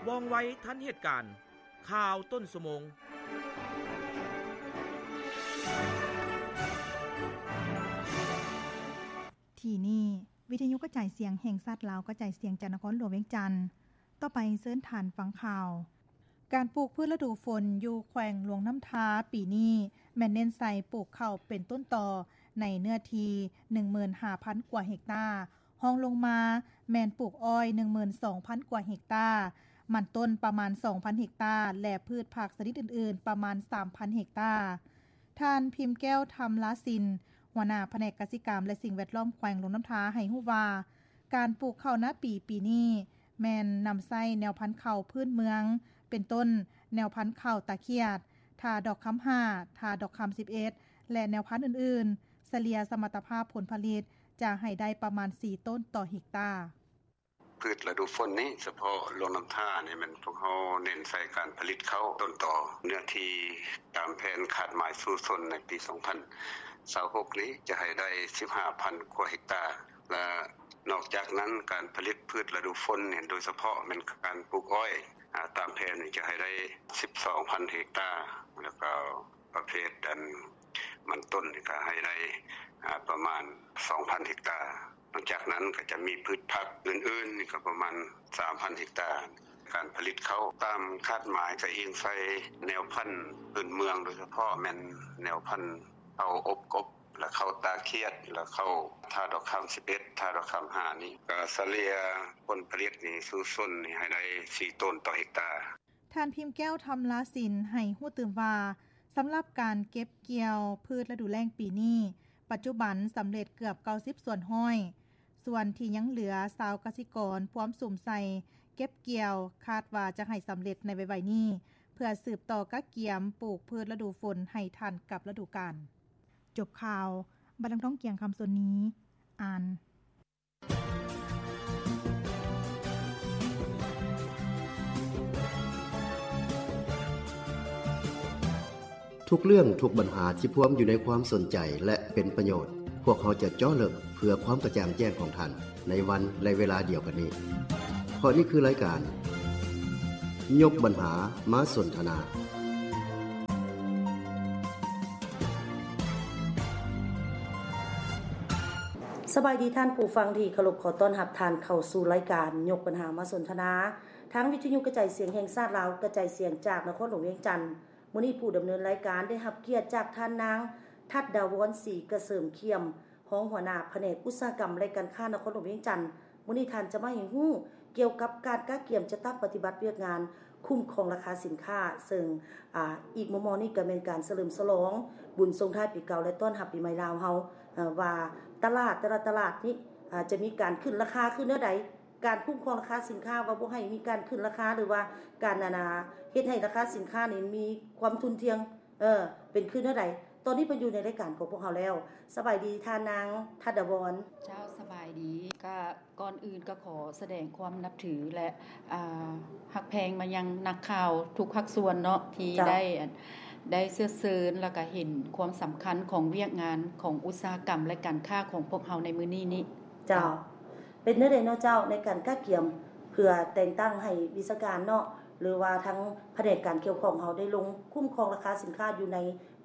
ວ່ອງໄວທັນເຫດການ. ຂ່າວຕົ້ນຊົ່ວໂມງ. ທີ່ນີ້ ວິທະຍຸກະຈາຍສຽງແຫ່ງຊາດລາວ ກະຈາຍສຽງຈາກນະຄອນຫຼວງວຽງຈັນ. ຕໍ່ໄປເຊີນທ່ານຟັງຂ່າວ. ການປູກພືດລະດູຝົນຢູ່ແຂວງຫຼວງນ້ຳທາປີນີ້ ແມ່ນເນັ້ນໃສ່ປູກເຂົ້າເປັນຕົ້ນຕໍໃນເນື້ອທີ່ໜຶ່ງໝື່ນຫ້າພັນກວ່າເຮັກຕາ, ຮອງລົງມາແມ່ນປູກອ້ອຍໜຶ່ງໝື່ນສອງພັນກວ່າເຮັກຕາ, ມັນຕົ້ນປະມານສອງພັນເຮັກຕາ ແລະ ພືດຜັກຊະນິດອື່ນໆປະມານສາມພັນເຮັກຕາ. ທ່ານ ພິມແກ້ວ ທຳລາສິນ ຫົວໜ້າພະແນກກະສິກຳ ແລະ ສິ່ງແວດລ້ອມແຂວງຫຼວງນ້ຳທາໃຫ້ຮູ້ວ່າ ການປູກເຂົ້ານາປີປີນີ້ ແມ່ນນຳໃຊ້ແນວພັນເຂົ້າພື້ນເມືອງ ເປັນຕົ້ນ ແນວພັນເຂົ້າຕາຂຽດ, ທ່າດອກຄຳຫ້າ, ທ່າດອກຄຳສິບເອັດ ແລະ ແນວພັນອື່ນໆ, ສະເລ່ຍສະມັດຕະພາບຜົນຜະລິດຈະໃຫ້ໄດ້ປະມານສີ່ໂຕນຕໍ່ເຮັກຕາ. ພືດລະດູຝົນນີ້ ສະເພາະຫຼວງນ້ຳທານີ້ ແມ່ນພວກເຮົາເນັ້ນໃສ່ການຜະລິດເຂົ້າຕົ້ນຕໍ. ເນື້ອທີ່ຕາມແຜນຄາດໝາຍສູ້ຊົນໃນປີສອງພັນຊາວຫົກນີ້ ຈະໃຫ້ໄດ້ສິບຫ້າພັນກວ່າເຮັກຕາ ແລະ ນອກຈາກນັ້ນ ການຜະລິດພືດລະດູຝົນນີ້ ໂດຍສະເພາະແມ່ນການປູກອ້ອຍ ອາ ຕາມແຜນນີ້ຈະໃຫ້ໄດ້ສິບສອງພັນເຮັກຕາ ແລ້ວກໍປະເພດອັນມັນຕົ້ນນີ້ກໍໃຫ້ໄດ້ ອາ ປະມານສອງພັນເຮັກຕາ. ນອກຈາກນັ້ນກໍຈະມີພືດຜັກອື່ນໆ ນີ້ກໍປະມານສາມພັນເຮັກຕາ. ການຜະລິດເຂົ້າຕາມຄາດໝາຍກໍອີງໃສ່ແນວພັນພື້ນເມືອງ ໂດຍສະເພາະແມ່ນແນວພັນເຂົ້າອົບກົບ ແລະ ເຂົ້າຕາຂຽດ ແລະ ເຂົ້າທ່າດອກຄຳສິບເອັດ ທ່າດອກຄຳຫ້ານີ້ ກໍສະເລ່ຍຜົນຜະລິດນີ້ສູ່ຊົນນີ້ໃຫ້ໄດ້ສີ່ໂຕນຕໍ່ເຮັກຕາ. ທ່ານ ພິມແກ້ວ ທຳລາສິນ ໃຫ້ຮູ້ຕື່ມວ່າ ສຳລັບການເກັບກ່ຽວພືດລະດູແລ້ງປີນີ້ ປັດຈຸບັນສຳເລັດເກືອບເກົ້າສິບສ່ວນຮ້ອຍ, ສ່ວນທີ່ຍັງເຫຼືອ ຊາວກະສິກອນພວມສຸມໃສ່ເກັບກ່ຽວ ຄາດວ່າຈະໃຫ້ສຳເລັດໃນໄວໆນີ້ ເພື່ອສືບຕໍ່ກະກຽມປູກພືດລະດູຝົນໃຫ້ທັນກັບລະດູການ. ຈົບຂ່າວ, ບັດນຳທອງ ກຽງຄຳ ສ່ວນນີ້ ອ່ານ. ທຸກເລື່ອງ, ທຸກບັນຫາທີ່ພວມຢູ່ໃນຄວາມສົນໃຈ ແລະ ເປັນປະໂຫຍດ, ພວກເຮົາຈະເຈາະເລິກເພື່ອຄວາມກະຈ່າງແຈ້ງຂອງທ່ານ ໃນວັນ ແລະ ເວລາດຽວກັນນີ້. ເພາະນີ້ຄືລາຍການ ຍົກບັນຫາມາສົນທະນາ. ສະບາຍດີທ່ານຜູ້ຟັງທີ່ເຄົາລົບ, ຂໍຕ້ອນຮັບທ່ານເຂົ້າສູ່ລາຍການຍົກບັນຫາມາສົນທະນາ ທາງວິທະຍຸກະຈາຍສຽງແຫ່ງຊາດລາວ ກະຈາຍສຽງຈາກນະຄອນຫຼວງວຽງຈັນ. ມື້ນີ້ຜູ້ດຳເນີນລາຍການໄດ້ຮັບກຽດຈາກທ່ານນາງ ທັດດາວອນ ສີກະເສີມຄຽມ, ຮອງຫົວໜ້າພະແນກອຸດສາຫະກຳ ແລະ ການຄ້ານະຄອນຫຼວງວຽງຈັນ. ມື້ນີ້ທ່ານຈະມາໃຫ້ຮູ້ກ່ຽວກັບການກະກຽມຈັດຕັ້ງປະຕິບັດວຽກງານຄຸ້ມຄອງລາຄາສິນຄ້າ, ເຊິ່ງ ອາ ອີກມໍ່ໆນີ້ກໍແມ່ນການສະເຫຼີມສະຫຼອງບຸນສົ່ງທ້າຍປີເກົ່າ ແລະ ຕ້ອນຮັບປີໃໝ່ລາວເຮົາ, ອາ ວ່າຕະຫຼາດແຕ່ລະຕະຫຼາດນີ້ ອາ ຈະມີການຂຶ້ນລາຄາຄືແນວໃດ, ການຄຸ້ມຄອງລາຄາສິນຄ້າ ວ່າບໍ່ໃຫ້ມີການຂຶ້ນລາຄາ ຫຼືວ່າການ ອັນນ່າ ເຮັດໃຫ້ລາຄາສິນຄ້ານີ້ມີຄວາມທຸ່ນທ່ຽງ ເອີ ເປັນຄືແນວໃດ? ຕອນນີ້ເພິ່ນຢູ່ໃນລາຍການຂອງພວກເຮົາແລ້ວ. ສະບາຍດີທ່ານນາງ ທັດດາວອນ. ເຈົ້າ ສະບາຍດີ. ກະ ກ່ອນອື່ນກະຂໍສະແດງຄວາມນັບຖື ແລະ ອາ ຮັກແພງມາຍັງນັກຂ່າວທຸກພາກສ່ວນເນາະ ທີ່ ເຈົ້າ ໄດ້ ໄດ້ເຊື້ອເຊີນ ແລ້ວກະເຫັນຄວາມສຳຄັນຂອງວຽກງານຂອງອຸດສາຫະກຳ ແລະ ການຄ້າຂອງພວກເຮົາໃນມື້ນີ້ນີ້. ເຈົ້າ. ເຈົ້າ. ເປັນແນວໃດເນາະເຈົ້າ ໃນການກະກຽມເພື່ອແຕ່ງຕັ້ງໃຫ້ວິຊາການເນາະ ຫຼືວ່າທາງພະແນກການກ່ຽວຂ້ອງເຮົາໄດ້ລົງຄຸ້ມຄອງລາຄາສິນຄ້າຢູ່ໃນ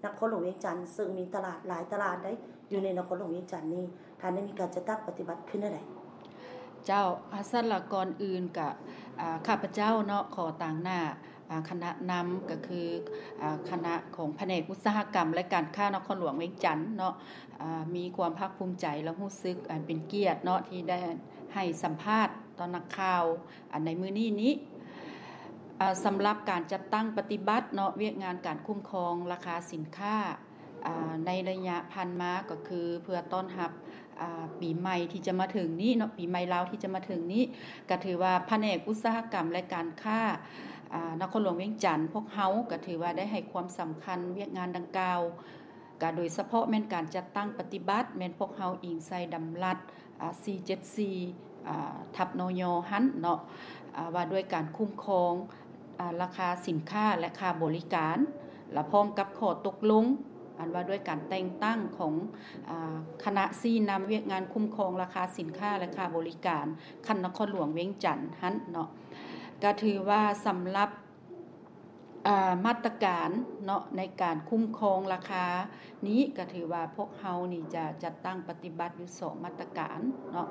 ນະຄອນຫຼວງວຽງຈັນ ເຊິ່ງມີຕະຫຼາດຫຼາຍຕະຫຼາດໃດ໋ ຢູ່ໃນນະຄອນຫຼວງວຽງຈັນນີ້ ທ່ານໄດ້ມີການຈັດຕັ້ງປະຕິບັດຄືແນວໃດ? ເຈົ້າ, ອາ ຊັ້ນລະ ກ່ອນອື່ນກະ ອາ ຂ້າພະເຈົ້າເນາະ ຂໍຕາງໜ້າ ອາ ຄະນະນຳ ກະຄື ອາ ຄະນະຂອງພະແນກອຸດສາຫະກຳ ແລະ ການຄ້ານະຄອນຫຼວງວຽງຈັນເນາະ ອາ ມີຄວາມພາກພູມໃຈ ແລະ ຮູ້ສຶກ ອາ ເປັນກຽດເນາະ ທີ່ໄດ້ໃຫ້ສຳພາດຕໍ່ນັກຂ່າວ ອາ ໃນມື້ນີ້ນີ້ ອາ ສຳລັບການຈັດຕັ້ງປະຕິບັດເນາະ ວຽກງານການຄຸ້ມຄອງລາຄາສິນຄ້າ ອາ ໃນໄລຍະຜ່ານມາ ກໍຄືເພື່ອຕ້ອນຮັບ ອາ ປີໃໝ່ທີ່ຈະມາເຖິງນີ້ເນາະ ປີໃໝ່ລາວທີ່ຈະມາເຖິງນີ້ ກະຖືວ່າພະແນກອຸດສາຫະກຳ ແລະ ການຄ້າ ອາ ນະຄອນຫຼວງວຽງຈັນ ພວກເຮົາກະຖືວ່າໄດ້ໃຫ້ຄວາມສຳຄັນວຽກງານດັ່ງກ່າວ ກະໂດຍສະເພາະແມ່ນການຈັດຕັ້ງປະຕິບັດ ແມ່ນພວກເຮົາອີງໃສ່ດຳລັດ ອາ ສີ່ເຈັດສີ່ ອາ ທັບ ນຍ ຫັ້ນເນາະ ອາ ວ່າດ້ວຍການຄຸ້ມຄອງ ອາ ລາຄາສິນຄ້າ ແລະ ຄ່າບໍລິການ ລະພ້ອມກັບຂໍ້ຕົກລົງ ອັນວ່າດ້ວຍການແຕ່ງຕັ້ງຂອງ ອາ ຄະນະຊີ້ນຳວຽກງານຄຸ້ມຄອງລາຄາສິນຄ້າ ແລະ ຄ່າບໍລິການ ຂັ້ນນະຄອນຫຼວງວຽງຈັນຫັ້ນເນາະ. ກໍຖືວ່າສຳລັບ ອາ ມາດຕະການເນາະ ໃນການຄຸ້ມຄອງລາຄານີ້ ກໍຖືວ່າພວກເຮົານີ້ຈະຈັດຕັ້ງປະຕິບັດຢູ່ສອງມາດຕະການເນາະ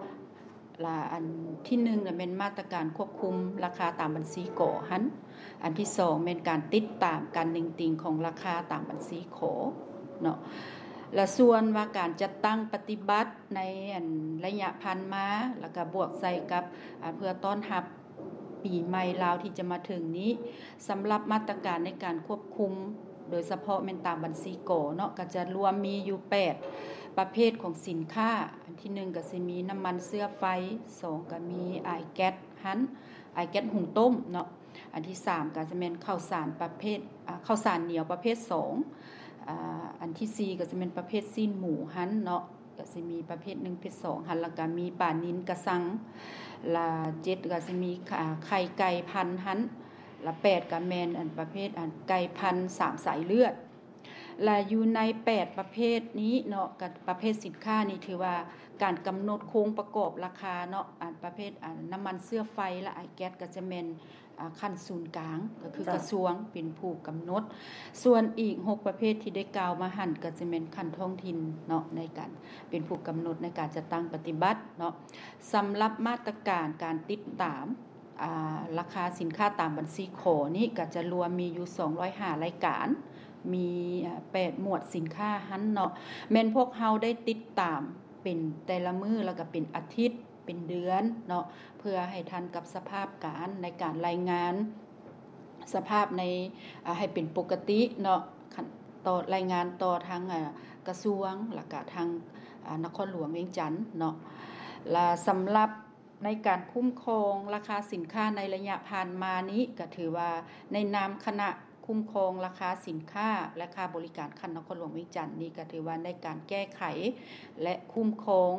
ລະອັນທີໜຶ່ງນະແມ່ນມາດຕະການຄວບຄຸມລາຄາຕາມບັນຊີ ກ ຫັ້ນ, ອັນທີສອງແມ່ນການຕິດຕາມການເໜັງຕີງຂອງລາຄາຕາມບັນຊີ ຂ ເນາະ. ລະສ່ວນວ່າການຈັດຕັ້ງປະຕິບັດໃນອັນໄລຍະຜ່ານມາ ລະກະບວກໃສ່ກັບ ອາ ເພື່ອຕ້ອນຮັບປີໃໝ່ລາວທີ່ຈະມາເຖິງນີ້, ສຳລັບມາດຕະການໃນການຄວບຄຸມ ໂດຍສະເພາະແມ່ນຕາມບັນຊີ ກ ເນາະ ກະຈະລວມມີຢູ່ແປດປະເພດຂອງສິນຄ້າ. ອັນທີໜຶ່ງກະຊິມີນ້ຳມັນເຊື້ອໄຟ, ສອງກະມີອາຍແກັສຫັ້ນ ອາຍແກັສຫຸງຕົ້ມເນາະ, ອັນທີສາມກະຈະແມ່ນເຂົ້າສານປະເພດ ອາ ເຂົ້າສານໜຽວປະເພດສອງ, ອາ ອັນທີສີ່ກະຈະແມ່ນປະເພດຊີ້ນໝູຫັ້ນເນາະ ກະຊິມີປະເພດໜຶ່ງ ເພດສອງຫັ້ນ, ລະກະມີປານິນກະຊັງ, ລະເຈັດກະຊິມີ ອາ ໄຂ່ໄກ່ພັນຫັ້ນ, ລະແປດກະແມ່ນອັນປະເພດອັນໄກ່ພັນສາມສາຍເລືອດ. ລະຢູ່ໃນແປດປະເພດນີ້ເນາະ ກະປະເພດສິນຄ້ານີ້ຖືວ່າການກຳນົດໂຄງປະກອບລາຄາເນາະ ອັນປະເພດອັນນ້ຳມັນເຊື້ອໄຟ ລະອາຍແກັສກະຈະແມ່ນ ອາ ຂັ້ນສູນກາງ ກໍຄື ເຈົ້າ ກະຊວງເປັນຜູ້ກຳນົດ, ສ່ວນອີກຫົກປະເພດທີ່ໄດ້ກ່າວມາຫັ້ນ ກໍຈະແມ່ນຂັ້ນທ້ອງຖິ່ນເນາະ ໃນການເປັນຜູ້ກຳນົດໃນການຈັດຕັ້ງປະຕິບັດເນາະ. ສຳລັບມາດຕະການການຕິດຕາມ ອາ ລາຄາສິນຄ້າຕາມບັນຊີ ຂ ນີ້ ກໍຈະລວມມີຢູ່ສອງຮ້ອຍຫ້າລາຍການ, ມີ ອາ ແປດໝວດສິນຄ້າຫັ້ນເນາະ, ແມ່ນພວກເຮົາໄດ້ຕິດຕາມເປັນແຕ່ລະມື້ ລະກະເປັນອາທິດ ເປັນເດືອນເນາະ ເພື່ອໃຫ້ທັນກັບສະພາບການໃນການລາຍງານສະພາບໃນ ອາ ໃຫ້ເປັນປົກກະຕິເນາະ ຂັ້ນຕໍ່ ລາຍງານຕໍ່ທາງ ອາ ກະຊວງ ລະກະທາງ ອາ ນະຄອນຫຼວງວຽງຈັນເນາະ. ລະສຳລັບໃນການຄຸ້ມຄອງລາຄາສິນຄ້າໃນໄລຍະຜ່ານມານີ້ ກະຖືວ່າໃນນາມຄະນະ ຄຸ້ມຄອງລາຄາສິນຄ້າ ແລະ ຄ່າບໍລິການຂັ້ນນະຄອນຫຼວງວຽງຈັນນີ້ ກະຖືວ່າໃນການແກ້ໄຂ ແລະ ຄຸ້ມຄອງ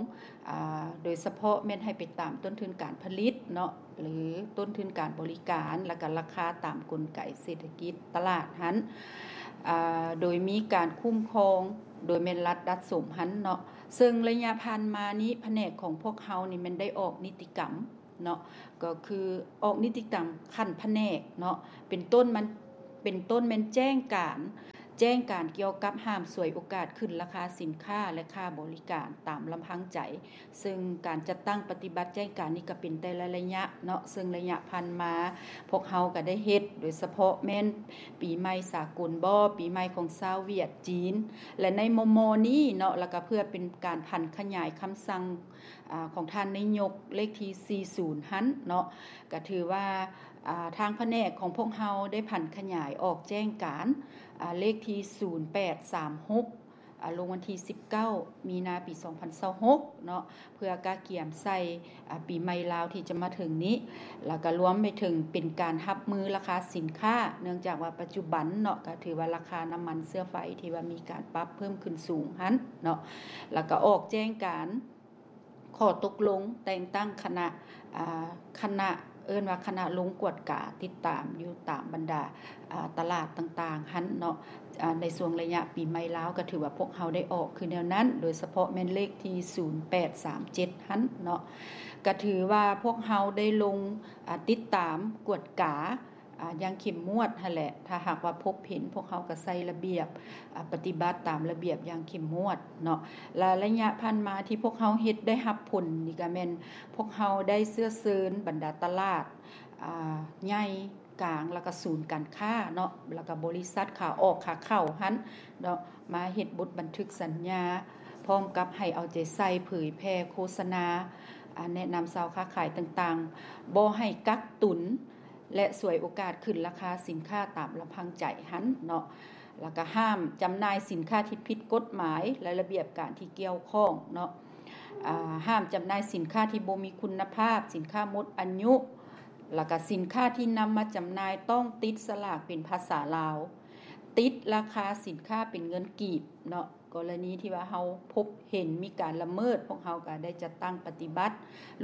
ອາ ໂດຍສະເພາະແມ່ນໃຫ້ໄປຕາມຕົ້ນທຶນການຜະລິດເນາະ ຫຼື ຕົ້ນທຶນການບໍລິການ ລະກະລາຄາຕາມກົນໄກເສດຖະກິດຕະຫຼາດຫັ້ນ ອາ ໂດຍມີການຄຸ້ມຄອງ ໂດຍແມ່ນລັດດັດສົມຫັ້ນເນາະ. ເຊິ່ງໄລຍະຜ່ານມານີ້ ພະແນກຂອງພວກເຮົານີ້ແມ່ນໄດ້ອອກນິຕິກຳ ເນາະ ກໍຄືອອກນິຕິກຳຂັ້ນພະແນກເນາະ ເປັນຕົ້ນມັນ ເປັນຕົ້ນແມ່ນແຈ້ງການ ແຈ້ງການກ່ຽວກັບຫ້າມສວຍໂອກາດຂຶ້ນລາຄາສິນຄ້າ ແລະ ຄ່າບໍລິການຕາມລຳພັງໃຈ. ເຊິ່ງການຈັດຕັ້ງປະຕິບັດແຈ້ງການນີ້ກໍເປັນແຕ່ລະໄລຍະເນາະ, ເຊິ່ງໄລຍະຜ່ານມາພວກເຮົາກໍໄດ້ເຮັດ ໂດຍສະເພາະແມ່ນປີໃໝ່ສາກົນບໍ ປີໃໝ່ຂອງຊາວຫວຽດ ຈີນ ແລະ ໃນມໍ່ໆນີ້ເນາະ ແລ້ວກໍເພື່ອເປັນການຜັນຂະຫຍາຍຄຳສັ່ງ ອາ ຂອງທ່ານນາຍົກເລກທີສີ່ສິບຫັ້ນເນາະ ກະຖືວ່າ ອາ ທາງພະແນກຂອງພວກເຮົາໄດ້ຜັນຂະຫຍາຍອອກແຈ້ງການ ອາ ເລກທີສູນແປດສາມຫົກ ອາ ລົງວັນທີສິບເກົ້າ ມີນາ ປີສອງພັນຊາວຫົກເນາະ ເພື່ອກະກຽມໃສ່ ອາ ປີໃໝ່ລາວທີ່ຈະມາເຖິງນີ້ ແລ້ວກະລວມໄປເຖິງເປັນການຮັບມືລາຄາສິນຄ້າ ເນື່ອງຈາກວ່າປັດຈຸບັນເນາະ ກະຖືວ່າລາຄານ້ຳມັນເຊື້ອໄຟທີ່ວ່າມີການປັບເພີ່ມຂຶ້ນສູງຫັ້ນເນາະ ແລ້ວກະອອກແຈ້ງການ ຂໍ້ຕົກລົງແຕ່ງຕັ້ງຄະນະ ອາ ຄະນະ ເອີ້ນວ່າຄະນະລົງກວດກາຕິດຕາມຢູ່ຕາມບັນດາ ອາ ຕະຫຼາດຕ່າງໆຫັ້ນເນາະ ອາ ໃນຊ່ວງໄລຍະປີໃໝ່ລາວ ກໍຖືວ່າພວກເຮົາໄດ້ອອກຄືແນວນັ້ນ ໂດຍສະເພາະແມ່ນເລກທີສູນແປດສາມເຈັດຫັ້ນເນາະ ກໍຖືວ່າພວກເຮົາໄດ້ລົງ ອາ ຕິດຕາມກວດກາ ອາ ຢ່າງເຂັ້ມງວດຫັ້ນແຫຼະ ຖ້າຫາກວ່າພົບເຫັນ ພວກເຮົາກໍໃສ່ລະບຽບ ອາ ປະຕິບັດຕາມລະບຽບຢ່າງເຂັ້ມງວດເນາະ ແລະ ໄລຍະຜ່ານມາທີ່ພວກເຮົາເຮັດໄດ້ຮັບຜົນນີ້ກໍແມ່ນ ພວກເຮົາໄດ້ເຊື້ອເຊີນບັນດາຕະຫຼາດ ອາ ໃຫຍ່ ກາງ ແລ້ວກໍສູນການຄ້າເນາະ ແລ້ວກໍບໍລິສັດຂາອອກຂາເຂົ້າຫັ້ນເນາະ ມາເຮັດບົດບັນທຶກສັນຍາ ພ້ອມກັບໃຫ້ເອົາໃຈໃສ່ເຜີຍແຜ່ໂຄສະນາ ອາ ແນະນຳຊາວຄ້າຂາຍຕ່າງໆ ບໍ່ໃຫ້ກັກຕຸນ ແລະ ສວຍໂອກາດຂຶ້ນລາຄາສິນຄ້າຕາມລຳພັງໃຈຫັ້ນເນາະ ແລ້ວກະຫ້າມຈຳໜ່າຍສິນຄ້າທີ່ຜິດກົດໝາຍ ແລະ ລະບຽບການທີ່ກ່ຽວຂ້ອງເນາະ ອາ ຫ້າມຈຳໜ່າຍສິນຄ້າທີ່ບໍ່ມີຄຸນນະພາບ, ສິນຄ້າໝົດອາຍຸ ແລ້ວກະສິນຄ້າທີ່ນຳມາຈຳໜ່າຍຕ້ອງຕິດສະຫຼາກເປັນພາສາລາວ, ຕິດລາຄາສິນຄ້າເປັນເງິນກີບເນາະ. ກໍລະນີທີ່ວ່າເຮົາພົບເຫັນມີການລະເມີດ, ພວກເຮົາກໍໄດ້ຈັດຕັ້ງປະຕິບັດ,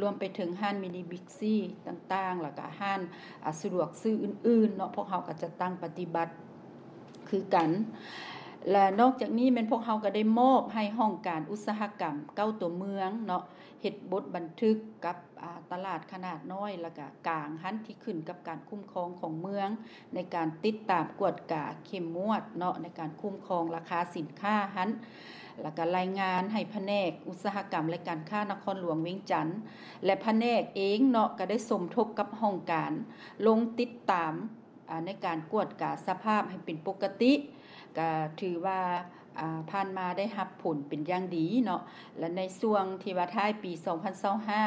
ລວມໄປເຖິງຮ້ານມິນິບິກຊີຕ່າງໆ, ແລ້ວກໍຮ້ານ ອາ ສະດວກຊື້ອື່ນໆເນາະ, ພວກເຮົາກໍຈັດຕັ້ງປະຕິບັດຄືກັນ. ແລະນອກຈາກນີ້ແມ່ນພວກເຮົາກໍໄດ້ມອບໃຫ້ຫ້ອງການອຸດສາຫະກຳເກົ້າຕົວເມືອງເນາະ ເຮັດບົດບັນທຶກກັບ ອາ ຕະຫຼາດຂະໜາດນ້ອຍ ແລະກະກາງຫັ້ນ ທີ່ຂຶ້ນກັບການຄຸ້ມຄອງຂອງເມືອງ ໃນການຕິດຕາມກວດກາເຂັ້ມງວດເນາະ ໃນການຄຸ້ມຄອງລາຄາສິນຄ້າຫັ້ນ ແລະກະລາຍງານໃຫ້ພະແນກອຸດສາຫະກຳ ແລະການຄ້ານະຄອນຫຼວງວຽງຈັນ ແລະພະແນກເອງເນາະ ກໍໄດ້ສົມທົບກັບຫ້ອງການ ລົງຕິດຕາມ ອາ ໃນການກວດກາສະພາບໃຫ້ເປັນປົກກະຕິ ກະຖືວ່າ ອາ ຜ່ານມາໄດ້ຮັບຜົນເປັນຢ່າງດີເນາະ ແລະໃນຊ່ວງທີ່ວ່າທ້າຍປີສອງພັນຊາວຫ້າ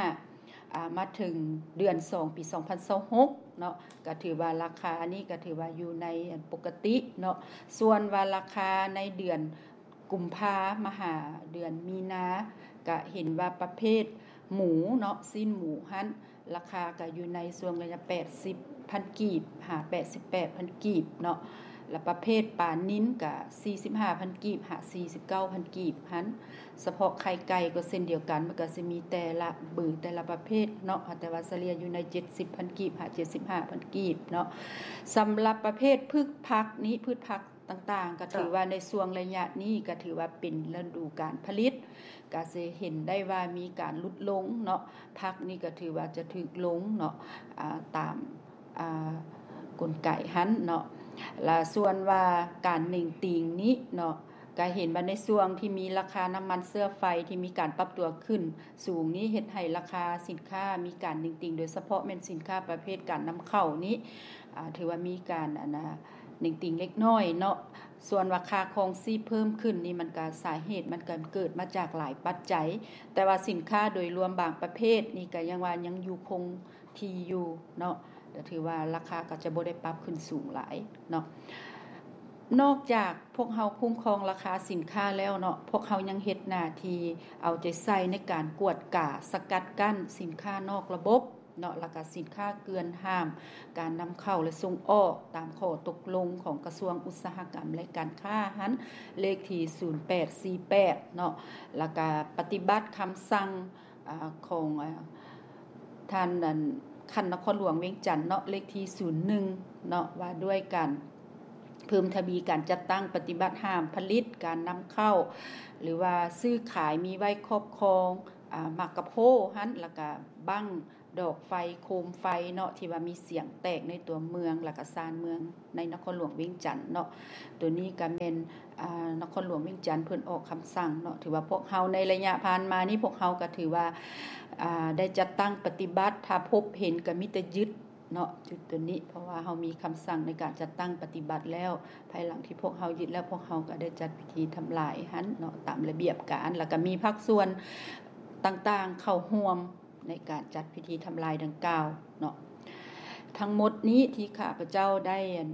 ອາ ມາເຖິງເດືອນສອງປີສອງພັນຊາວຫົກເນາະ ກະຖືວ່າລາຄານີ້ກະຖືວ່າຢູ່ໃນ ອັນ ປົກກະຕິເນາະ ສ່ວນວ່າລາຄາໃນເດືອນ ກຸມພາມາຫາເດືອນມີນາ ກະເຫັນວ່າປະເພດໝູເນາະ ຊີ້ນໝູຫັ້ນ ລາຄາກະຢູ່ໃນຊ່ວງໄລຍະແປດສິບພັນກີບຫາແປດສິບແປດພັນກີບເນາະ ແລະປະເພດປານິນກະສີ່ສິບຫ້າພັນກີບຫາສີ່ສິບເກົ້າພັນກີບຫັ້ນ ສະເພາະໄຂ່ໄກ່ກໍເຊັ່ນດຽວກັນ ມັນກະຊິມີແຕ່ລະເບີ ແຕ່ລະປະເພດເນາະ ແຕ່ວ່າສະເລ່ຍຢູ່ໃນເຈັດສິບພັນກີບຫາເຈັດສິບຫ້າພັນກີບເນາະ ສຳລັບປະເພດພືດຜັກນີ້ ພືດຜັກ ຕ່າງໆ ກໍຖືວ່າໃນຊ່ວງໄລຍະນີ້ກໍຖືວ່າເປັນລະດູການຜະລິດ ກໍຊິເຫັນໄດ້ວ່າມີການຫຼຸດລົງເນາະ ຜັກນີ້ກໍຖືວ່າຈະຖືກລົງເນາະ ອາ ຕາມ ອາ ກົນໄກຫັ້ນເນາະ ລະສ່ວນວ່າການເໜັງຕີງນີ້ເນາະ ກໍເຫັນວ່າໃນຊ່ວງທີ່ມີລາຄານ້ຳມັນເຊື້ອໄຟທີ່ມີການປັບຕົວຂຶ້ນສູງນີ້ ເຮັດໃຫ້ລາຄາສິນຄ້າມີການເໜັງຕີງ ໂດຍສະເພາະແມ່ນສິນຄ້າປະເພດການນຳເຂົ້ານີ້ ອາ ຖືວ່າມີການ ອັນນະ ເໜັງຕີງເລັກນ້ອຍເນາະ ສ່ວນວ່າຄ່າຄອງຊີບເພີ່ມຂຶ້ນນີ້ ມັນກະ ສາເຫດມັນກະເກີດມາຈາກຫຼາຍປັດໄຈ ແຕ່ວ່າສິນຄ້າໂດຍລວມບາງປະເພດນີ້ກະຍັງວ່າຍັງຢູ່ຄົງທີ່ຢູ່ເນາະ ກະຖືວ່າລາຄາກໍຈະບໍ່ໄດ້ປັບຂຶ້ນສູງຫຼາຍເນາະ. ນອກຈາກພວກເຮົາຄຸ້ມຄອງລາຄາສິນຄ້າແລ້ວເນາະ ພວກເຮົາຍັງເຮັດໜ້າທີ່ເອົາໃຈໃສ່ໃນການກວດກາສະກັດກັ້ນສິນຄ້ານອກລະບົບ ເນາະ ແລ້ວກະສິນຄ້າເກືອນຫ້າມການນຳເຂົ້າ ແລະ ສົ່ງອອກ ຕາມຂໍ້ຕົກລົງຂອງກະຊວງອຸດສາຫະກຳ ແລະ ການຄ້າຫັ້ນ ເລກທີສູນແປດສີ່ແປດເນາະ ແລ້ວກະປະຕິບັດຄຳສັ່ງ ອາ ຂອງ ອາ ທ່ານ ອັນ ຂັ້ນນະຄອນຫຼວງວຽງຈັນເນາະ ເລກທີສູນໜຶ່ງເນາະ ວ່າດ້ວຍການເພີ່ມທະວີການຈັດຕັ້ງປະຕິບັດຫ້າມຜະລິດ ການນຳເຂົ້າ ຫຼືວ່າຊື້ຂາຍ ມີໄວ້ຄອບຄອງ ອາ ໝາກກະໂພຫັ້ນ ແລ້ວກະບັ້ງ ດອກໄຟ ໂຄມໄຟເນາະ ທີ່ວ່າມີສຽງແຕກໃນຕົວເມືອງ ແລ້ວກະຊານເມືອງໃນນະຄອນຫຼວງວຽງຈັນເນາະ. ໂຕນີ້ກະແມ່ນ ອາ ນະຄອນຫຼວງວຽງຈັນເພິ່ນອອກຄຳສັ່ງເນາະ. ຖືວ່າພວກເຮົາໃນໄລຍະຜ່ານມານີ້ ພວກເຮົາກະຖືວ່າ ອາ ໄດ້ຈັດຕັ້ງປະຕິບັດ ຖ້າພົບເຫັນກະມີແຕ່ຍຶດເນາະ ຈຸດໂຕນີ້ ເພາະວ່າເຮົາມີຄຳສັ່ງໃນການຈັດຕັ້ງປະຕິບັດແລ້ວ. ພາຍຫຼັງທີ່ພວກເຮົາຍຶດແລ້ວ ພວກເຮົາກະໄດ້ຈັດພິທີທຳລາຍຫັ້ນເນາະ ຕາມລະບຽບການ ແລ້ວກະມີພາກສ່ວນຕ່າງໆເຂົ້າຮ່ວມ ໃນການຈັດພິທີທຳລາຍດັ່ງກ່າວເນາະ. ທັງໝົດນີ້ທີ່ຂ້າພະເຈົ້າໄດ້ ອັນ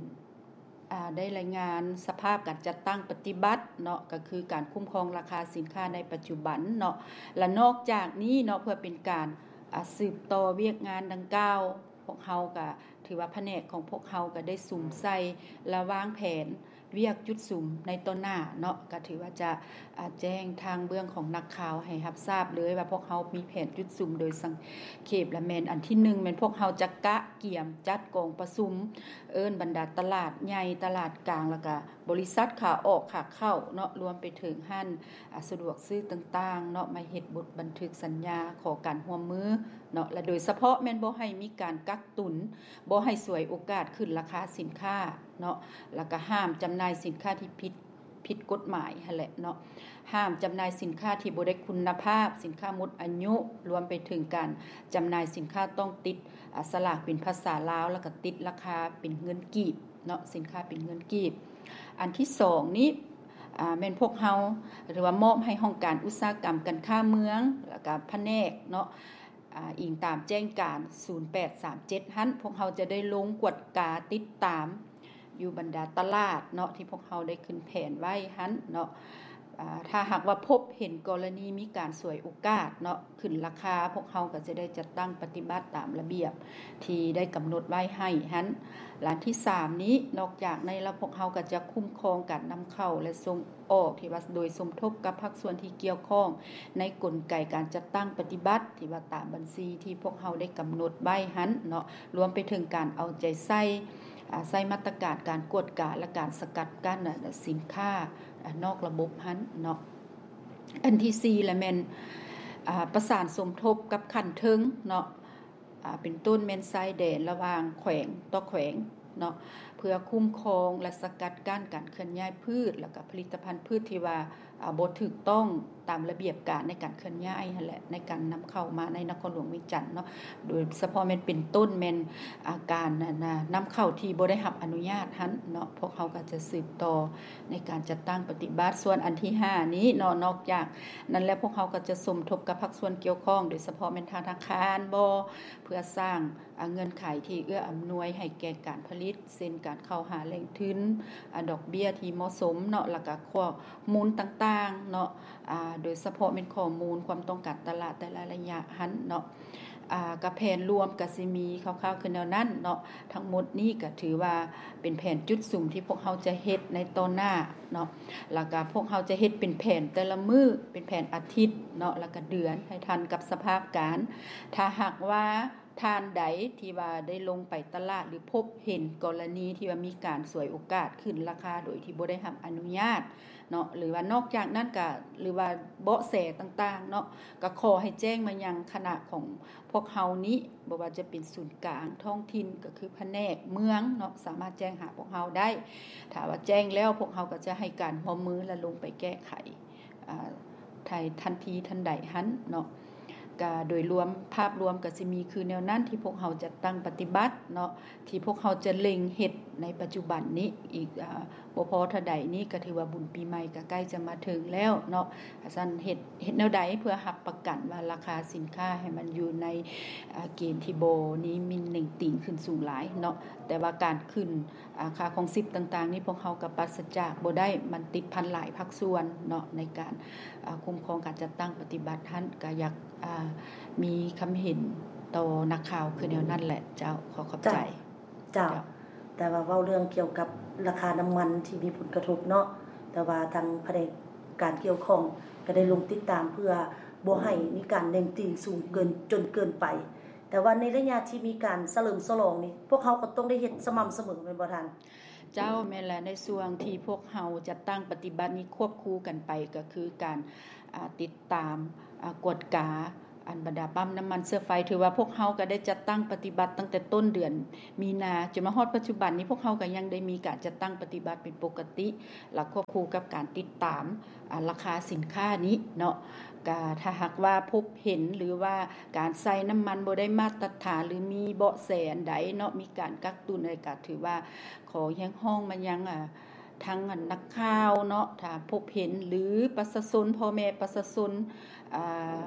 ອາ ໄດ້ລາຍງານສະພາບການຈັດຕັ້ງປະຕິບັດເນາະ ກໍຄືການຄຸ້ມຄອງລາຄາສິນຄ້າໃນປັດຈຸບັນເນາະ ແລະ ນອກຈາກນີ້ເນາະ ເພື່ອເປັນການ ອາ ສືບຕໍ່ວຽກງານດັ່ງກ່າວ ພວກເຮົາກະຖືວ່າພະແນກຂອງພວກເຮົາກະໄດ້ສຸມໃສ່ ແລະ ວາງແຜນ ວຽກຈຸດສຸມໃນຕໍ່ໜ້າເນາະ ກະຖືວ່າຈະ ອາ ແຈ້ງທາງເບື້ອງຂອງນັກຂ່າວໃຫ້ຮັບຊາບເລີຍວ່າ ພວກເຮົາມີແຜນຈຸດສຸມໂດຍສັງເຂບ ລະແມ່ນອັນທີໜຶ່ງ ແມ່ນພວກເຮົາຈະກະກຽມຈັດກອງປະຊຸມ ເອີ້ນບັນດາຕະຫຼາດໃຫຍ່ ຕະຫຼາດກາງ ແລ້ວກະບໍລິສັດຂາອອກຂາເຂົ້າເນາະ ລວມໄປເຖິງຮ້ານ ອາ ສະດວກຊື້ຕ່າງໆເນາະ ມາເຮັດບົດບັນທຶກສັນຍາຂໍການຮ່ວມມືເນາະ ແລະ ໂດຍສະເພາະແມ່ນບໍ່ໃຫ້ມີການກັກຕຸນ ບໍ່ໃຫ້ສວຍໂອກາດຂຶ້ນລາຄາສິນຄ້າເນາະ ແລ້ວກະຫ້າມຈຳໜ່າຍສິນຄ້າທີ່ຜິດ ຜິດກົດໝາຍຫັ້ນແຫຼະເນາະ. ຫ້າມຈຳໜ່າຍສິນຄ້າທີ່ບໍ່ໄດ້ຄຸນນະພາບ, ສິນຄ້າໝົດອາຍຸ, ລວມໄປເຖິງການຈຳໜ່າຍສິນຄ້າຕ້ອງຕິດ ອາ ສະຫຼາກເປັນພາສາລາວ ແລ້ວກະຕິດລາຄາເປັນເງິນກີບເນາະ, ສິນຄ້າເປັນເງິນກີບ. ອັນທີສອງນີ້ ອາ ແມ່ນພວກເຮົາ ຫຼືວ່າມອບໃຫ້ຫ້ອງການອຸດສາຫະກຳການຄ້າເມືອງ ແລ້ວກະພະແນກເນາະ ອາ ອີງຕາມແຈ້ງການສູນແປດສາມເຈັດຫັ້ນ ພວກເຮົາຈະໄດ້ລົງກວດກາຕິດຕາມຢູ່ບັນດາຕະຫຼາດເນາະ ທີ່ພວກເຮົາໄດ້ຂຶ້ນແຜນໄວ້ຫັ້ນເນາະ. ອາ ຖ້າຫາກວ່າພົບເຫັນກໍລະນີມີການສວຍໂອກາດເນາະ ຂຶ້ນລາຄາ ພວກເຮົາກໍຈະໄດ້ຈັດຕັ້ງປະຕິບັດຕາມລະບຽບທີ່ໄດ້ກຳນົດໄວ້ໃຫ້ຫັ້ນ. ລະອັນທີສາມນີ້ ນອກຈາກໃນລະ ພວກເຮົາກໍຈະຄຸ້ມຄອງການນຳເຂົ້າ ແລະ ສົ່ງ ອອກ ທີ່ວ່າໂດຍສົມທົບກັບພາກສ່ວນທີ່ກ່ຽວຂ້ອງໃນກົນໄກການຈັດຕັ້ງປະຕິບັດ ທີ່ວ່າຕາມບັນຊີທີ່ພວກເຮົາໄດ້ກຳນົດໄວ້ຫັ້ນເນາະ, ລວມໄປເຖິງການເອົາໃຈໃສ່ ອາ ໃຊ້ມາດຕະການການກວດກາ ແລະ ການສະກັດກັ້ນ ອາ ສິນຄ້າ ນອກລະບົບຫັ້ນເນາະ. ອັນທີສີ່ລະແມ່ນ ອາ ປະສານສົມທົບກັບຂັ້ນເທິງເນາະ ອາ ເປັນຕົ້ນແມ່ນຊາຍແດນລະຫວ່າງແຂວງຕໍ່ແຂວງເນາະ ເພື່ອຄຸ້ມຄອງ ແລະ ສະກັດກັ້ນການເຄື່ອນຍ້າຍພືດ ແລ້ວກະຜະລິດຕະພັນພືດທີ່ວ່າ ອາ ບໍ່ຖືກຕ້ອງຕາມລະບຽບການໃນການເຄື່ອນຍ້າຍຫັ້ນແຫຼະ ໃນການນຳເຂົ້າມາໃນນະຄອນຫຼວງວຽງຈັນເນາະ ໂດຍສະເພາະແມ່ນເປັນຕົ້ນແມ່ນ ອາ ການ ອັນນ່າ ນຳເຂົ້າທີ່ບໍ່ໄດ້ຮັບອະນຸຍາດຫັ້ນເນາະ ພວກເຮົາກໍຈະສືບຕໍ່ໃນການຈັດຕັ້ງປະຕິບັດ. ສ່ວນອັນທີຫ້ານີ້ເນາະ ນອກຈາກນັ້ນແລ້ວ ພວກເຮົາກໍຈະສົມທົບກັບພາກສ່ວນກ່ຽວຂ້ອງ ໂດຍສະເພາະແມ່ນທະນາຄານບໍ ເພື່ອສ້າງ ອາ ເງື່ອນໄຂທີ່ເອື້ອອຳນວຍໃຫ້ແກ່ການຜະລິດ ເຊັ່ນ ການເຂົ້າຫາແຫຼ່ງທຶນ ອາ ດອກເບ້ຍທີ່ເໝາະສົມເນາະ ແລ້ວກະຂໍ້ມູນຕ່າງໆເນາະ ອາ ໂດຍສະເພາະແມ່ນຂໍ້ມູນຄວາມຕ້ອງການຕະຫຼາດແຕ່ລະໄລຍະຫັ້ນເນາະ ອາ ກະແຜນລວມກະຊິມີຄ່າວໆຄືແນວນັ້ນເນາະ. ທັງໝົດນີ້ກະຖືວ່າເປັນແຜນຈຸດສຸມທີ່ພວກເຮົາຈະເຮັດໃນຕໍ່ໜ້າເນາະ ແລ້ວກະພວກເຮົາຈະເຮັດເປັນແຜນແຕ່ລະມື້ ເປັນແຜນອາທິດເນາະ ແລ້ວກະເດືອນ ໃຫ້ທັນກັບສະພາບການ. ຖ້າຫາກວ່າ ທ່ານໃດທີ່ວ່າໄດ້ລົງໄປຕະຫຼາດ ຫຼື ພົບເຫັນກໍລະນີທີ່ວ່າມີການສວຍໂອກາດຂຶ້ນລາຄາໂດຍທີ່ບໍ່ໄດ້ຮັບອະນຸຍາດເນາະ ຫຼືວ່ານອກຈາກນັ້ນກະ ຫຼືວ່າເບາະແສຕ່າງໆເນາະ ກະຂໍໃຫ້ແຈ້ງມາຍັງຄະນະຂອງພວກເຮົານີ້ ບໍ່ວ່າຈະເປັນສູນກາງທ້ອງຖິ່ນ ກໍຄືພະແນກເມືອງເນາະ ສາມາດແຈ້ງຫາພວກເຮົາໄດ້. ຖ້າວ່າແຈ້ງແລ້ວ ພວກເຮົາກໍຈະໃຫ້ການຮ່ວມມື ແລະ ລົງໄປແກ້ໄຂ ອາ ໃນທັນທີທັນໃດຫັ້ນເນາະ. ກະໂດຍລວມ ພາບລວມກະຊິມີຄືແນວນັ້ນ ທີ່ພວກເຮົາຈັດຕັ້ງປະຕິບັດເນາະ ທີ່ພວກເຮົາຈະເລັ່ງເຮັດໃນປັດຈຸບັນນີ້ ອີກ ອາ ບໍ່ພໍເທົ່າໃດນີ້ ກະຖືວ່າບຸນປີໃໝ່ກະໃກ້ຈະມາເຖິງແລ້ວເນາະ. ສະນັ້ນເຮັດ ເຮັດແນວໃດເພື່ອຮັບປະກັນວ່າລາຄາສິນຄ້າໃຫ້ມັນຢູ່ໃນ ອາ ເກນທີ່ບໍ່ໜີ່ໝິ່ນເໜັງຕີງຂຶ້ນສູງຫຼາຍເນາະ ແຕ່ວ່າການຂຶ້ນ ອາ ຄ່າຄອງຊີບຕ່າງໆນີ້ ພວກເຮົາກໍປາສະຈາກບໍ່ໄດ້ ມັນຕິດພັນຫຼາຍພາກສ່ວນເນາະ ໃນການ ອາ ຄຸ້ມຄອງການຈັດຕັ້ງປະຕິບັດຫັ້ນ ກໍຢາກ ອາ ມີຄຳເຫັນຕໍ່ນັກຂ່າວຄືແນວນັ້ນແຫຼະເຈົ້າ. ຂໍຂອບໃຈ. ເຈົ້າ ເຈົ້າ ແຕ່ວ່າເວົ້າເລື່ອງກ່ຽວກັບລາຄານ້ຳມັນທີ່ມີຜົນກະທົບເນາະ ແຕ່ວ່າທາງພະແນກການກ່ຽວຂ້ອງກໍໄດ້ລົງຕິດຕາມເພື່ອບໍ່ໃຫ້ມີການເໜັງຕີງສູງເກີນ ຈົນເກີນໄປ. ແຕ່ວ່າໃນໄລຍະທີ່ມີການສະເຫຼີມສະຫຼອງນີ້ ພວກເຮົາກໍຕ້ອງໄດ້ເຮັດສະໝ່ຳສະເໝີແມ່ນບໍ່ທ່ານ? ເຈົ້າ ແມ່ນແຫຼະ ໃນຊ່ວງທີ່ພວກເຮົາຈັດຕັ້ງປະຕິບັດນີ້ ຄວບຄູ່ກັນໄປກໍຄືການ ອາ ຕິດຕາມ ອາ ກວດກາ ອັນບັນດາປ້ຳນ້ຳມັນເຊື້ອໄຟ ຖືວ່າພວກເຮົາກໍໄດ້ຈັດຕັ້ງປະຕິບັດຕັ້ງແຕ່ຕົ້ນເດືອນມີນາ ຈົນມາຮອດປັດຈຸບັນນີ້ ພວກເຮົາກໍຍັງໄດ້ມີການຈັດຕັ້ງປະຕິບັດເປັນປົກກະຕິ ແລະ ຄວບຄູ່ກັບການຕິດຕາມ ອາ ລາຄາສິນຄ້ານີ້ເນາະ. ກະຖ້າຫາກວ່າພົບເຫັນ ຫຼືວ່າການໃຊ້ນ້ຳມັນບໍ່ໄດ້ມາດຕະຖານ ຫຼືມີເບາະແສອັນໃດເນາະ ມີການກັກຕຸນໃດ ກະຖືວ່າຂໍຮຽກຮ້ອງມາຍັງ ອາ ທັງ ອັນ ນັກຂ່າວເນາະ ຖ້າພົບເຫັນ ຫຼືປະຊາຊົນ ພໍ່ແມ່ປະຊາຊົນ ອາ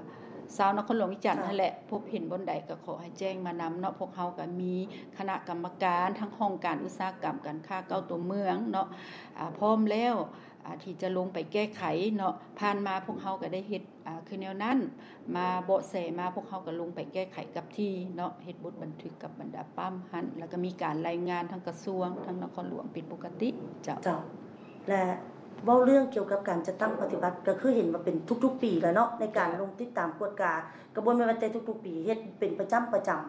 ຊາວນະຄອນຫຼວງວຽງຈັນຫັ້ນແຫຼະ ພົບເຫັນບ່ອນໃດກໍຂໍໃຫ້ແຈ້ງມານຳເນາະ. ພວກເຮົາກໍມີຄະນະກຳມະການ ທັງຫ້ອງການອຸດສາຫະກຳ ການຄ້າ ເກົ້າຕົວເມືອງເນາະ ອາ ພ້ອມແລ້ວ ອາ ທີ່ຈະລົງໄປແກ້ໄຂເນາະ. ຜ່ານມາພວກເຮົາກໍໄດ້ເຮັດ ອາ ຄືແນວນັ້ນ ມາເບາະແສມາ ພວກເຮົາກໍລົງໄປແກ້ໄຂກັບທີ່ເນາະ ເຮັດບົດບັນທຶກກັບບັນດາປ້ຳຫັ້ນ ແລ້ວກໍມີການລາຍງານທາງກະຊວງ ທາງນະຄອນຫຼວງເປັນປົກກະຕິ. ເຈົ້າ ເຈົ້າ ແລະ ເວົ້າເລື່ອງກ່ຽວກັບການຈັດຕັ້ງປະຕິບັດ ກໍຄືເຫັນວ່າເປັນທຸກໆປີແລ້ວເນາະ ໃນການລົງຕິດຕາມກວດກາ ກໍບໍ່ແມ່ນວ່າແຕ່ທຸກໆປີ ເຮັດເປັນປະຈຳ ປະຈຳ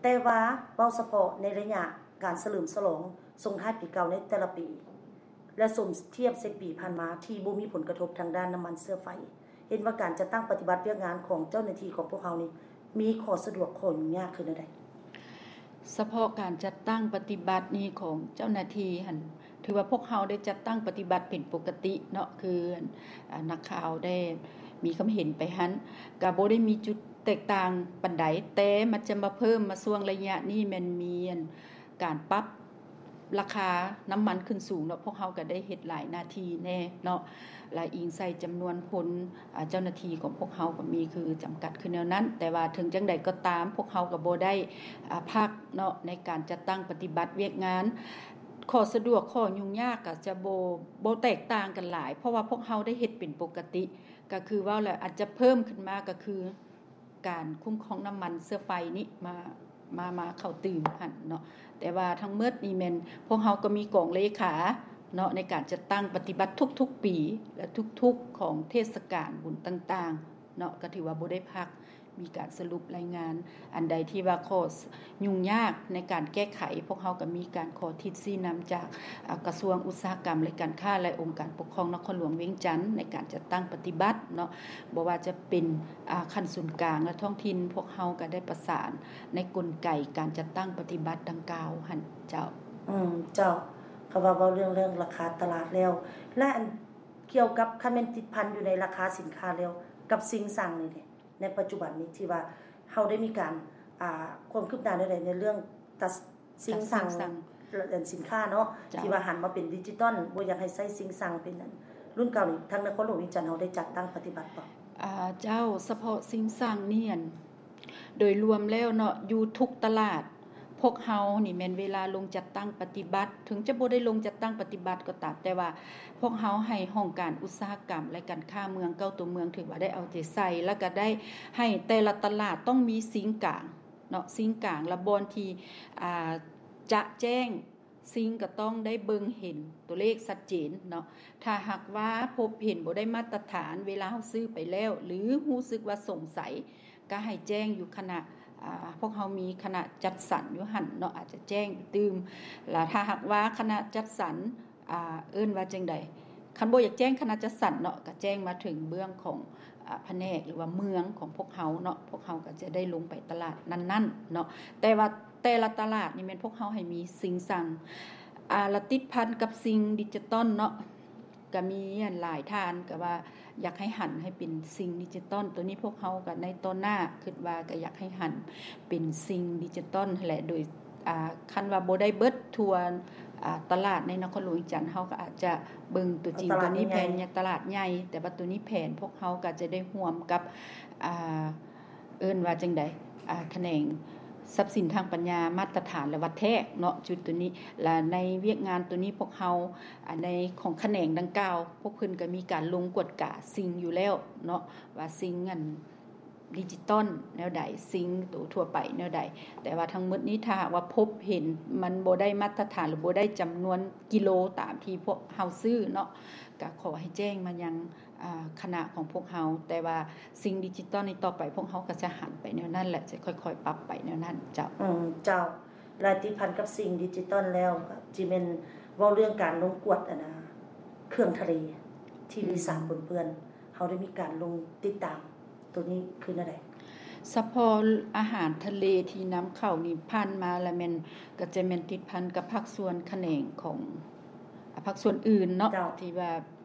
ແຕ່ວ່າເວົ້າສະເພາະໃນໄລຍະການສະເຫຼີມສະຫຼອງສົ່ງທ້າຍປີເກົ່າໃນແຕ່ລະປີ ແລະ ສົມທຽບໃສ່ປີຜ່ານມາທີ່ບໍ່ມີຜົນກະທົບທາງດ້ານນ້ຳມັນເຊື້ອໄຟ ເຫັນວ່າການຈັດຕັ້ງປະຕິບັດວຽກງານຂອງເຈົ້າໜ້າທີ່ຂອງພວກເຮົານີ້ ມີຂໍ້ສະດວກ ຂໍ້ຫຍຸ້ງຍາກຄືແນວໃດ? ສະເພາະການຈັດຕັ້ງປະຕິບັດນີ້ຂອງເຈົ້າໜ້າທີ່ຫັ້ນ ຖືວ່າພວກເຮົາໄດ້ຈັດຕັ້ງປະຕິບັດເປັນປົກກະຕິເນາະ ຄື ອາ ນັກຂ່າວໄດ້ມີຄຳເຫັນໄປຫັ້ນ ກະບໍ່ໄດ້ມີຈຸດແຕກຕ່າງປານໃດ ແຕ່ມັນຈະມາເພີ່ມມາຊ່ວງໄລຍະນີ້ ແມ່ນມີ ອັນ ການປັບລາຄານ້ຳມັນຂຶ້ນສູງເນາະ ພວກເຮົາກໍໄດ້ເຮັດຫຼາຍໜ້າທີ່ແດ່ເນາະ ແລະ ອີງໃສ່ຈຳນວນຄົນ ອາ ເຈົ້າໜ້າທີ່ຂອງພວກເຮົາກໍມີຄືຈຳກັດຄືແນວນັ້ນ ແຕ່ວ່າເຖິງຈັ່ງໃດກໍຕາມ ພວກເຮົາກໍບໍ່ໄດ້ ອາ ພັກເນາະ ໃນການຈັດຕັ້ງປະຕິບັດວຽກງານ. ຂໍ້ສະດວກ ຂໍ້ຫຍຸ້ງຍາກກໍຈະບໍ່ ບໍ່ແຕກຕ່າງກັນຫຼາຍ ເພາະວ່າພວກເຮົາໄດ້ເຮັດເປັນປົກກະຕິ ກໍຄືເວົ້າແລ້ວ ອາດຈະເພີ່ມຂຶ້ນມາກໍຄື ການຄຸ້ມຄອງນ້ຳມັນເຊື້ອໄຟນີ້ມາ ມາ ມາເຂົ້າຕື່ມຫັ້ນເນາະ ແຕ່ວ່າທັງໝົດນີ້ແມ່ນພວກເຮົາກໍມີກອງເລຂາເນາະ ໃນການຈັດຕັ້ງປະຕິບັດທຸກໆປີ ແລະ ທຸກໆຂອງເທດສະການບຸນຕ່າງໆເນາະ ກໍຖືວ່າບໍ່ໄດ້ພັກ ມີການສະຫຼຸບລາຍງານ ອັນໃດທີ່ວ່າຂໍ້ຫຍຸ້ງຍາກໃນການແກ້ໄຂ ພວກເຮົາກໍມີການຂໍທິດຊີ້ນຳຈາກ ອາ ກະຊວງອຸດສາຫະກຳ ແລະ ການຄ້າ ແລະ ອົງການປົກຄອງນະຄອນຫຼວງວຽງຈັນ ໃນການຈັດຕັ້ງປະຕິບັດເນາະ ບໍ່ວ່າຈະເປັນ ອາ ຂັ້ນສູນກາງ ແລະ ທ້ອງຖິ່ນ ພວກເຮົາກໍໄດ້ປະສານໃນກົນໄກການຈັດຕັ້ງປະຕິບັດດັ່ງກ່າວຫັ້ນເຈົ້າ. ອືມ ເຈົ້າ ຄຳວ່າເວົ້າເລື່ອງ ເລື່ອງລາຄາຕະຫຼາດແລ້ວ ແລະ ອັນ ກ່ຽວກັບ ຄັນແມ່ນຕິດພັນຢູ່ໃນລາຄາສິນຄ້າແລ້ວ ກັບສິ່ງສັ່ງນີ້ເດ ໃນປັດຈຸບັນນີ້ ທີ່ວ່າເຮົາໄດ້ມີການ ອ່າ ຄວາມຄືບໜ້າແນວໃດໃນເລື່ອງຕັດ ສິ່ງສັ່ງ ແລະ ສິນຄ້າເນາະ ເຈົ້າ ທີ່ວ່າຫັນມາເປັນດິຈິຕອນ ບໍ່ຢາກໃຫ້ໃຊ້ສິ່ງສັ່ງເປັນອັນ ລຸ້ນເກົ່ານີ້ ທາງນະຄອນຫຼວງວຽງຈັນເຮົາໄດ້ຈັດຕັ້ງປະຕິບັດບໍ່? ອາ ເຈົ້າ ສະເພາະສິ່ງສັ່ງນີ້ ອັນ ໂດຍລວມແລ້ວເນາະ ຢູ່ທຸກຕະຫຼາດ ພວກເຮົານີ້ແມ່ນເວລາລົງຈັດຕັ້ງປະຕິບັດ ເຖິງຈະບໍ່ໄດ້ລົງຈັດຕັ້ງປະຕິບັດກໍຕາມ ແຕ່ວ່າພວກເຮົາໃຫ້ຫ້ອງການອຸດສາຫະກຳ ແລະ ການຄ້າເມືອງເກົ້າຕົວເມືອງ ຖືວ່າໄດ້ເອົາໃຈໃສ່ ແລ້ວກໍໄດ້ໃຫ້ແຕ່ລະຕະຫຼາດຕ້ອງມີຊິງກາງເນາະ ຊິງກາງ ແລະ ບ່ອນທີ່ ອາ ຈະແຈ້ງ ຊິງກໍຕ້ອງໄດ້ເບິ່ງເຫັນຕົວເລກຊັດເຈນເນາະ ຖ້າຫາກວ່າພົບເຫັນບໍ່ໄດ້ມາດຕະຖານ ເວລາເຮົາຊື້ໄປແລ້ວ ຫຼື ຮູ້ສຶກວ່າສົງໄສ ກໍໃຫ້ແຈ້ງຢູ່ຄະນະ ອາ ພວກເຮົາມີຄະນະຈັດສັນຢູ່ຫັ້ນເນາະ ອາດຈະແຈ້ງຕື່ມ ລະຖ້າຫາກວ່າຄະນະຈັດສັນ ອາ ເອີ້ນວ່າຈັ່ງໃດ ຄັນບໍ່ຢາກແຈ້ງຄະນະຈັດສັນເນາະ ກໍແຈ້ງມາເຖິງເບື້ອງຂອງ ອາ ພະແນກ ຫຼືວ່າເມືອງຂອງພວກເຮົາເນາະ ພວກເຮົາກໍຈະໄດ້ລົງໄປຕະຫຼາດນັ້ນໆເນາະ ແຕ່ວ່າແຕ່ລະຕະຫຼາດນີ້ແມ່ນພວກເຮົາໃຫ້ມີຊິງສັ່ງ ອາ ລະຕິດພັນກັບສິ່ງດິຈິຕອນເນາະ ກໍມີອັນຫຼາຍທ່ານກໍວ່າຢາກໃຫ້ຫັນໃຫ້ເປັນສິ່ງດິຈິຕອນ ໂຕນີ້ພວກເຮົາກໍໃນຕໍ່ໜ້າຄິດວ່າກໍຢາກໃຫ້ຫັນເປັນສິ່ງດິຈິຕອນຫັ້ນແຫຼະ ໂດຍ ອາ ຄັນວ່າບໍ່ໄດ້ເບິດທົ່ວ ອາ ຕະຫຼາດໃນນະຄອນຫຼວງວຽງຈັນ ເຮົາກໍອາດຈະເບິ່ງຕົວຈິງ ເອົາຕະຫຼາດໃຫຍ່ ໂຕນີ້ແຜນຕະຫຼາດໃຫຍ່ ແຕ່ວ່າໂຕນີ້ແຜນພວກເຮົາກໍຈະໄດ້ຮ່ວມກັບ ອາ ເອີ້ນວ່າຈັ່ງໃດ ອາ ຂະແໜງຊັບສິນທາງປັນຍາ ມາດຕະຖານ ແລະ ວັດແທກເນາະ ຈຸດໂຕນີ້ ແລະ ໃນວຽກງານໂຕນີ້ພວກເຮົາ ອາ ໃນຂອງຂະແໜງດັ່ງກ່າວ ພວກເພິ່ນກໍມີການລົງກວດກາສິ່ງຢູ່ແລ້ວເນາະ ວ່າສິ່ງອັນ ດິຈິຕອນແນວໃດ ສິ່ງໂຕທົ່ວໄປແນວໃດ ແຕ່ວ່າທັງໝົດນີ້ ຖ້າຫາກວ່າພົບເຫັນມັນບໍ່ໄດ້ມາດຕະຖານ ຫຼື ບໍ່ໄດ້ຈຳນວນກິໂລຕາມທີ່ພວກເຮົາຊື້ເນາະ ກໍຂໍໃຫ້ແຈ້ງມາຍັງ ອາ ຄະນະຂອງພວກເຮົາ ແຕ່ວ່າສິ່ງດິຈິຕອນນີ້ຕໍ່ໄປ ພວກເຮົາກໍຈະຫັນໄປແນວນັ້ນ ແລະ ຈະຄ່ອຍໆປັບໄປແນວນັ້ນເຈົ້າ. ອືມ ເຈົ້າ ແລະ ຕິດພັນກັບສິ່ງດິຈິຕອນແລ້ວ ກໍຊິແມ່ນເວົ້າເລື່ອງການລົງກວດ ອັນນາ ເຄື່ອງທະເລ ທີ່ມີສານ ອືມ ປົນເປື້ອນ ເຮົາໄດ້ມີການລົງຕິດຕາມ ໂຕນີ້ຄືແນວໃດ? ສະເພາະອາຫານທະເລທີ່ນຳເຂົ້ານີ້ ຜ່ານມາລະແມ່ນ ກໍຈະແມ່ນຕິດພັນກັບພາກສ່ວນຂະແໜງຂອງ ອາ ພາກສ່ວນອື່ນເນາະ ເຈົ້າ ທີ່ວ່າ